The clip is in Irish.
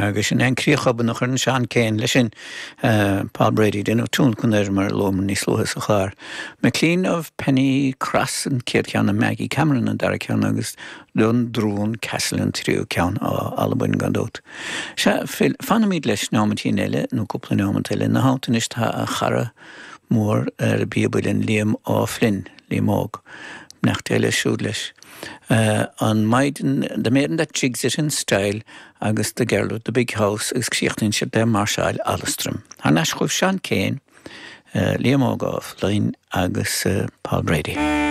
Agus sin é an críoch obann a chuireann Seán Keane leis sin. Paul Brady, déanamh tionlacan air mar a luamar níos luaithe sa chlár. MacLean of Pennycross an chéad cheann, and Maggie Cameron an dara ceann agus Dundrowan Castle an tríú ceann, ó Albain gan dabht. Sea, Phil, fanfaimid leis neomaitín eile, nó cúpla neomat eile. Ina theannta anois tá a chara mór ar an bpíob uilleann, Liam Ó Floinn, Liam Óg. Beannacht Dé leis siúd leis. An Maiden, The Maiden That Jigs It In Style agus The Girl With The Big House agus críochnaíonn siad le Máirseáil Alastrim. Thar n-ais chugaibh Seán Keane, Liam Óg Ó Floinn agus Paul Brady.